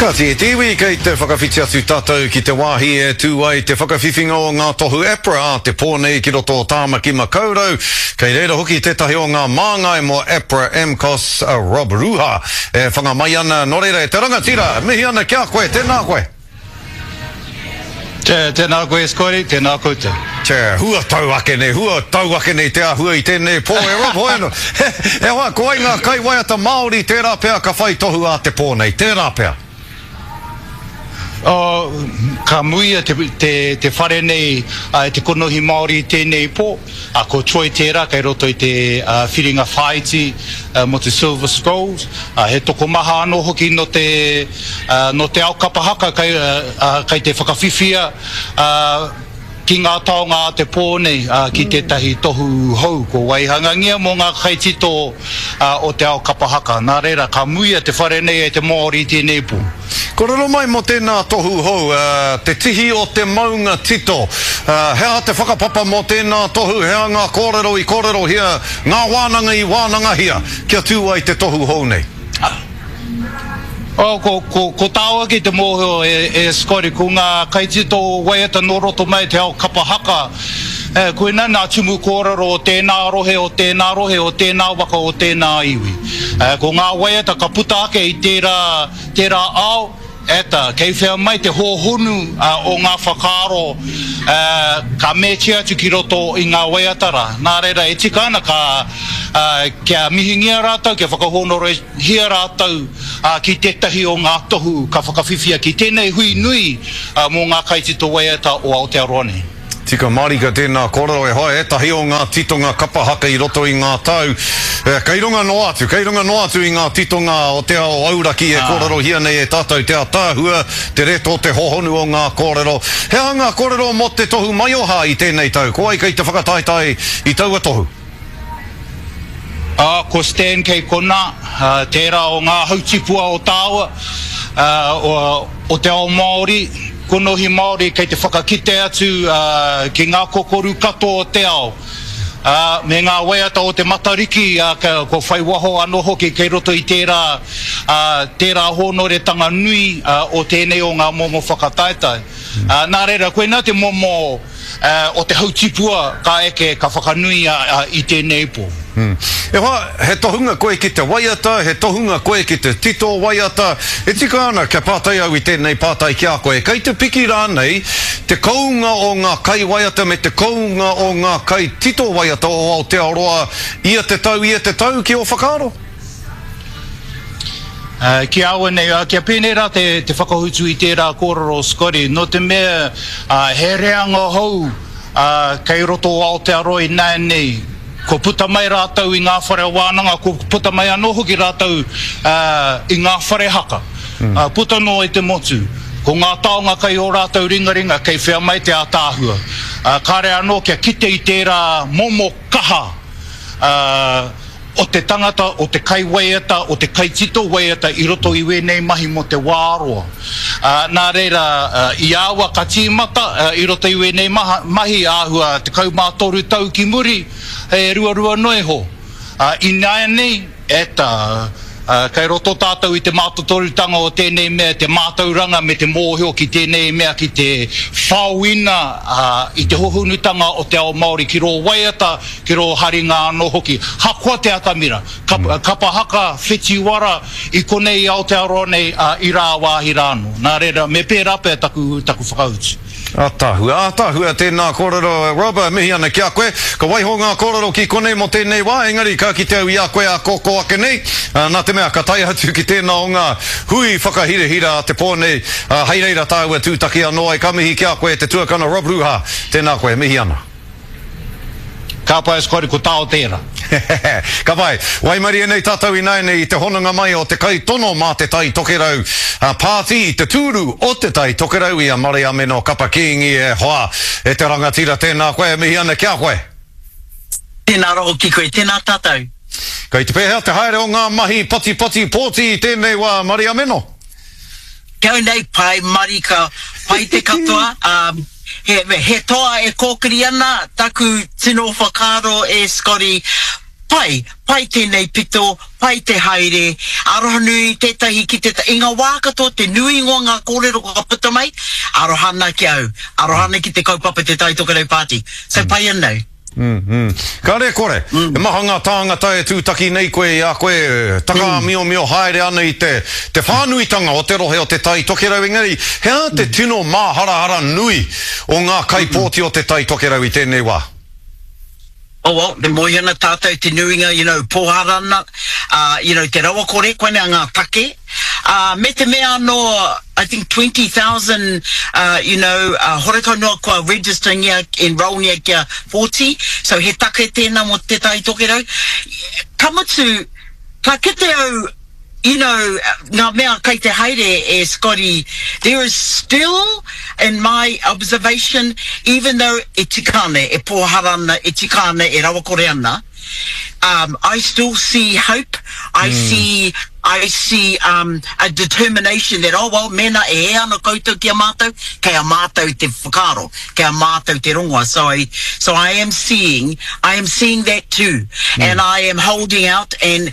Kāti e te iwi, kei te whakawhiti atu tātou ki te wāhi e tū ai te whakawhiwhinga o ngā tohu APRA ā te pō nei ki roto o Tāmaki Makaurau. Kei reira hoki tētahi o ngā māngai mō APRA AMCOS, a Rob Ruha, e whanga mai ana. Nō reira, e te rangatira, mihi ana ki a koe, tēnā koe. Tēnā koe Scotty, tēnā koutou. Tē, huatau ake nei, huatau ake nei te āhua i tēnei pō e Rob, hoi anō. E hoa, ko wai ngā kaiwaiata Māori tērā pea ka whai tohu ā te pō nei, tērā pea? Oh, ka muia te, te, te whare nei e te konohi Māori i tēnei pō. Ā, ko Troy tērā kei roto i te whiringa whāiti mō te Silver Scrolls. Ā, he tokomaha anō hoki nō te, nō te ao kapa haka kei, kei te whakawhiwhia ki ngā taonga a te pō nei, ā, ki tētahi tohu hou kua waihangangia mō ngā kaitito o te ao kapa haka. Nā reira, ka muia te whare nei e te Māori i tēnei pō. Kōrero mai mō tēnā tohu hou, Te Tihi o te Maunga Tito. He aha te whakapapa mō tēnā tohu, he aha ngā kōrero i kōrerohia, ngā wānanga i wānangahia kia tū ai te tohu hou nei? Oh, ko, ko, ko tāu ake te mōhio e, e Scotty, ko ngā kaitito waiata nō roto mai te ao kapa haka, e, koinā nā tumu kōrero o tēnā rohe, o tēnā rohe, o tēnā waka, o tēnā iwi. E, ko ngā waiata ka puta ake i tērā, Tērā ao, eta, kei whea mai te hōhonu o ngā whakaaro ka mētia atu ki roto i ngā waiata rā. Nā reira, e tika ana ka, kia mihingia rātou, kia whakahōnorehia rātou ki tētahi o ngā tohu ka whakawhiwhia ki tēnei hui nui mō ngā kaitito waiata o Aotearoa nei. Tika marika tēnā kōrero e hoa, ētahi o ngā titonga kapa haka i roto i ngā tau, kei runga noa atu, kei runga noa atu i ngā titonga o te ao auraki e kōrerohia nei e tātou te ātaahua, te reto, te hohonu o ngā kōrero. He aha ngā kōrero mō te tohu maioha i tēnei tau? Ko wai kei te whakataetae i taua tohu? Ā, ko Stan kei konā, tērā o ngā hautipua o tāua, o te ao Māori, konohi Māori kei te whakakite atu ki ngā kokoru katoa o te ao, ā, me ngā waiata o te Matariki, ā, kua whai waho anō hoki kei roto i tērā, ā, tērā hōnoretanga nui o tēnei o ngā momo whakataetae. Ā, nā reira, koinā te momo. o te hautipua ka eke, ka whakanuia i tēnei pō. E hoa, he tohunga koe ki te waiata, he tohunga koe ki te tito waiata. E tika ana kia pātai au i tēnei pātai ki a koe, kei te piki rānei te kounga o ngā kaiwaiata me te kounga o ngā kaitito waiata o Aotearoa ia te tau, ia te tau ki ō whakaaro? Ki a au nei, kia pēnei rā te whakahutu i tērā kōrero Scotty, nō te mea he reanga hou kei roto o Aotearoa ināianei, kua puta mai rātou i ngā whare wānanga, kua puta mai anō hoki rātou i ngā whare haka, puta noa i te motu. Ko ngā taonga kei ō rātou ringaringa, kei whea mai te ātaahua. Kāre anō kia kite i tērā momo kaha. O te tangata, o te kaiwaiata, o te kaitito waiata i roto i wēnei mahi mō te wā roa. Nā reira, i aua ka tīmata i roto i wēnei mahi āhua 13 tau ki muri, he ruarua noa iho. Ināianei, eta, kei roto tātou i te mātotorutanga o tēnei mea, te mātauranga me te mōhio ki tēnei mea ki te whaoina i te hohonutanga o te ao Māori ki rō waiata, ki rō haringa anō hoki. Hakoa te atamira, kapa haka, whetiwara, i konei i Aotearoa nei, ā, i rāwāhi rā anō. Nā reira, me pērā pea taku, taku whakautu. Ataahua, ataahua tēnā kōrero Rob, mihi ana ki a koe. Ka waiho ngā kōrero ki konei mō tēnei wā, engari ka kite au i a koe ā kōkō ake nei, nā te mea ka tae atu ki tēnā o ngā hui whakahirahira a te pō nei, hei reira tāua tūtaki anō ai. Ka mihi ki a koe te tuakana Rob Ruha, tēnā koe, mihi ana. Ka pai Scotty, ko tāo tērā. Ka pai. Waimarie nei tātou ināianei i te hononga mai o te kaitono mā Te Tai Tokerau Pāti i te tūru o Te Tai Tokerau i a Mariameno Kapa Kīngi e hoa, e te rangatira tēnā koe e mihi ana ki a koe. Tēnā rawa ki koe, tēnā tātou. Kei te pēhea te haere o ngā mahi patipati pōti i tēnei wā Mariameno? Kau nei pai marika, pai te katoa, he, he toa e kōkiri ana taku tino whakaaro e Scotty. Pai, pai tēnei pito, pai te haere, arohanui tētahi ki tētahi, i ngā wā katoa te nuinga o ngā kōrero ka puta mai, aroha ana ki au, aroha ana ki te kaupapa Te Tai Tokerau Party. So pai ana au. Kāre e kore, he maha ngā tāngata e tūtaki nei koe i a koe takaāmiomio haere ana i te te whānuitanga o te rohe o Te Tai Tokerau, engari he aha te tino māharahara nui o ngā kaipōti o Te Tai Tokerau i tēnei wā? Oh well, e moe ana tātou te nuinga, you know, pōhara ana, uh, you know, te rawakore, koinei ngā take. Uh, me te mea anō, I think 20,000, uh, you know, uh, horekau noa kua registerngia, enrollngia kia 40, so he take tēnā mō Te Tai Tokerau. Ka mutu, ka kite au, you know, ngā mea kei te haere e Scotty, there is still, in my observation, even though e tika ana, e pōhara ana, e tika ana, e rawakore ana, um, I still see hope, I see, I see um, a determination that, oh well, mēnā e hē ana koutou ki a mātou, kei a mātou te whakaaro, kei a mātou te rongoa. So I, so I am seeing, I am seeing that too. And I am holding out and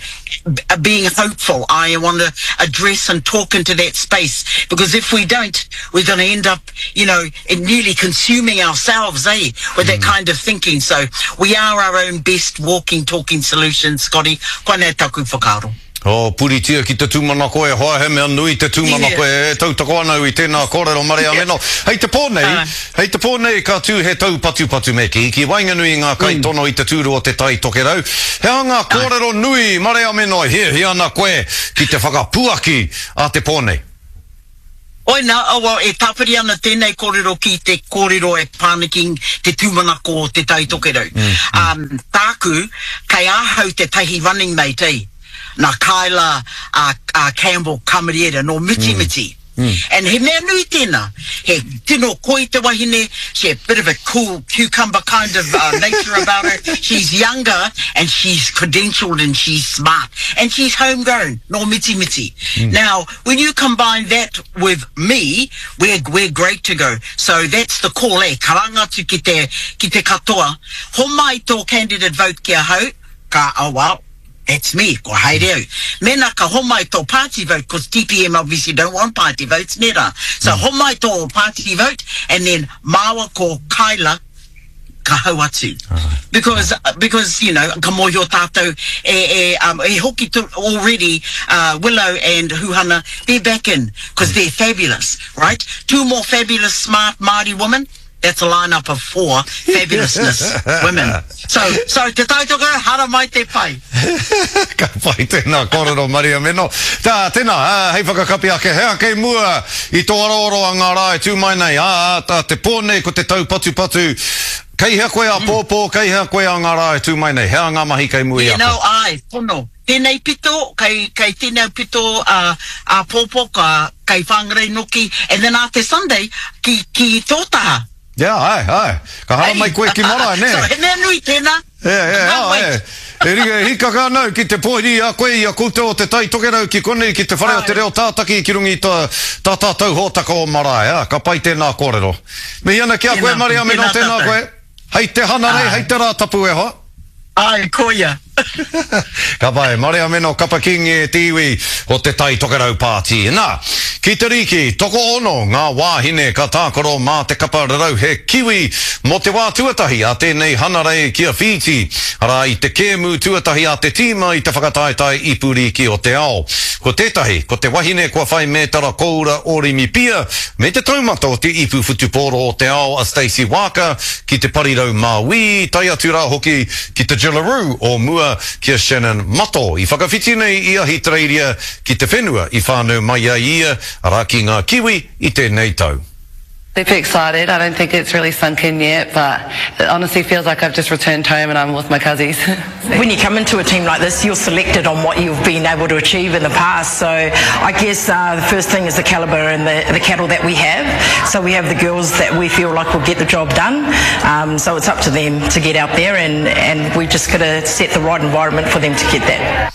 being hopeful. I want to address and talk into that space because if we don't, we're going to end up, you know, nearly consuming ourselves, eh, with that kind of thinking. So we are our own best walking, talking solution, Scotty. Koinei taku whakaaro. Oh, puritia ki te tūmanako e hoa, he mea nui te tūmanako e tautoko ana au i tēnā kōrero Mariameno. Hei te pō nei, hei te pō nei ka tū he taupatupatu me kī, ki waenganui i ngā kaitono i te tūru o Te Tai Tokerau. He aha ngā kōrero nui, Mariameno, e hiahia ana koe ki te whakapuaki a te pō nei? Oina, oh well, e tāpiri ana tēnei kōrero ki te kōrero e pā ana ki te tūmanako o Te Tai Tokerau. Um, tāku, kei ahau tētahi running mate, eh, nā Kyla uh, uh, Campbell Kamariera, nō Mitimiti. And he mea nui tēnā. He tino koi te wahine, she a bit of a cool cucumber kind of uh, nature about her. She's younger and she's credentialed and she's smart. And she's homegrown, nō Mitimiti. Now, When you combine that with me, we're, we're great to go. So that's the call, eh, karanga atu ki te, ki te katoa, homai tō candidate vote ki ahau, ka, oh well, that's me, kua haere au. Mēnā ka homai tō party vote, cause TPM obviously don't want party votes, nē rā. So homai tō party vote, and then māua ko Kyla, ka hau atu. Because, because, you know, ka mōhio tātou e, e, um, e hoki to, already uh, Willow and Huhana, they're back in, because they're fabulous, right? Two more fabulous, smart Māori women, that's a lineup of four fabulousness women. So, so te tautoko, hara mai te pai. Ka pai tēnā kōrero Maria Meno. Tā, tēnā, hei whakakapi ake, he aha kei mua I tō aroaro a ngā rā e tū mai nei, ā, ā, te pō nei ko te taupatupatu, kei hea koe āpōpō, kei hea koe a ngā rā e tū mai nei, he aha ngā mahi kei mua i a koe? You know, āe, pono. Tēnei pito, kei, kei tēnei pito ā, āpōpō, ka, kei Whangarei noki, and then ā te Sunday, ki, ki tō taha. Yeah, āe, āe. Ka haramai koe ki marae, nē? So, he mea nui tēnā. E, e, a, e. E ringa e hikaka ana au ki te pōhiri i a koe, i a koutou o Te Tai Tokerau ki konei, ki te whare o te reo tātaki ki runga i tā, tā tātou hōtaka o marae, ā, ka pai tēnā kōrero. Mihi ana ki a koe, Mariameno, tēnā koe. Hei te Hanarei, hei te Rātapu e hoa. Āe, koia. Ka pai, Mariameno Kapa Kingi e te iwi o Te Tai Tokerau Pāti. Nā, ki te rīki, tokoono ngā wāhine ka tākaro mā te kapa rarauhe Kiwi mō te wā tuatahi a tēnei hanarei ki a Whīti, arā i te kēmu tuatahi a te tīma i te whakataetae Ipu Rīki o te Ao. Ko tētahi, ko te wahine kua whai mētara koura o Rimipia me te taumata o te Ipu Whutupōro o te Ao a Stacey Waaka ki te parirau māuī, tae atu rā hoki ki te Jillaroo o mua ki a Shannon Mato i whakawhiti nei i Ahitereiria ki te whenua i whānau mai ai ia, arā ki ngā Kiwi i tēnei tau. Super excited, I don't think it's really sunk in yet but it honestly feels like I've just returned home and I'm with my cuzzies. When you come into a team like this you're selected on what you've been able to achieve in the past so I guess uh, the first thing is the calibre and the, the cattle that we have. So we have the girls that we feel like will get the job done um, so it's up to them to get out there and, and we've just got to set the right environment for them to get that.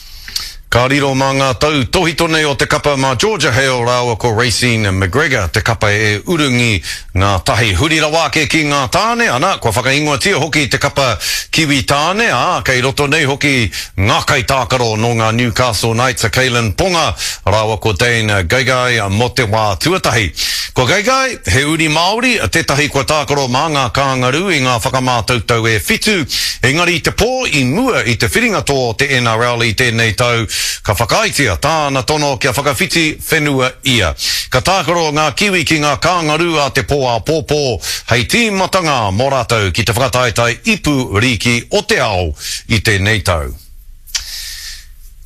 Ka riro mā ngā tautōhito nei o te kapa mā Georgia Hale rāua ko Raecene McGregor te kapa e urungi ngā tahi. Huri rawa ake ki ngā tāne, ana, kua whakaingoatia hoki te kapa Kiwi tāne, ā, kei roto nei hoki ngā kaitākaro nō ngā Newcastle Knights a Kalyn Ponga rāua ko Dane Gagai mō te wā tuatahi. Ko Gagai, he uri Māori, tētahi kua tākaro mā ngā Kāngarū i ngā whakamātautau e whitu, engari i te pō i mua i te whiringa toa o te NRL i tēnei tau, ka whakaaetia tāna tono kia whakawhiti whenua ia. Ka tākaro ngā Kiwi ki ngā Kāngarū a te pō āpōpō hei tīmatanga mō rātou ki te whakataetae Ipu Rīki o te Ao i tēnei tau.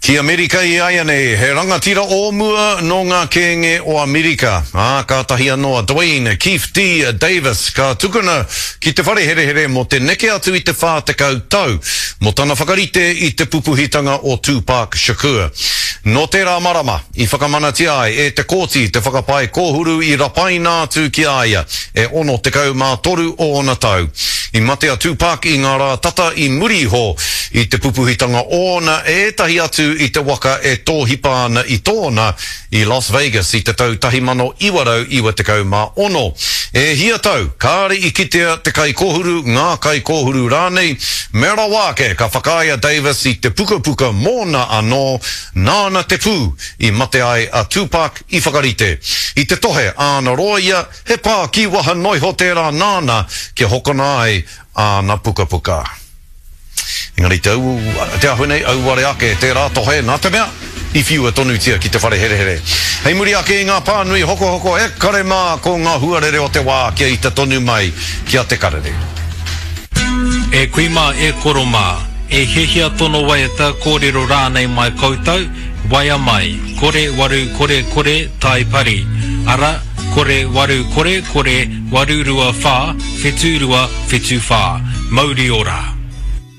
Ki Amerika i āianei, he rangatira o mua nō ngā kēnge o Amerika, ā, kātahi anō a Duane Keefe D. Davis ka tukuna ki te whare herehere mō te neke atu i te 40 tau, mō tana whakarite i te pupuhitanga o Tupac Shakur. Nō tērā marama, i whakamanatia ai e te kōti te whakapae kōhuru i rapaina atu ki a ia, e 63 ōna tau. I mate a Tupac i ngā rā tata i muri iho i te pupuhitanga ōna e ētahi atu i te waka e tōhipa ana i tōna i Las Vegas i te tau 1996. E hia tau, kāre i kitea te kaikōhuru, ngā kaikōhuru rānei, mea rawa ake ka whakaae a Davis i te pukapuka mōna anō, nāna te pū i mate ai a Tupac i whakarite. I te tohe āna rōia, he pā kīwaha noiho tērā nāna kia hokona ai āna pukapuka. Engari te au, te āhua nei, auare ake tērā tohe, nā te mea, i whiua tonutia ki te whare herehere. Hei muri ake i ngā pānui hokohoko e kare mā ko ngā huarere o te wā kia ita tonu mai ki a Te Karere. E kui mā, e koro mā, e hiahia tono waiata, kōrero rānei mai koutou, waea mai, kore waru kore kore tai pari, ara, kore waru kore kore waru rua whā, whetū rua, whetū whā. Mauri ora!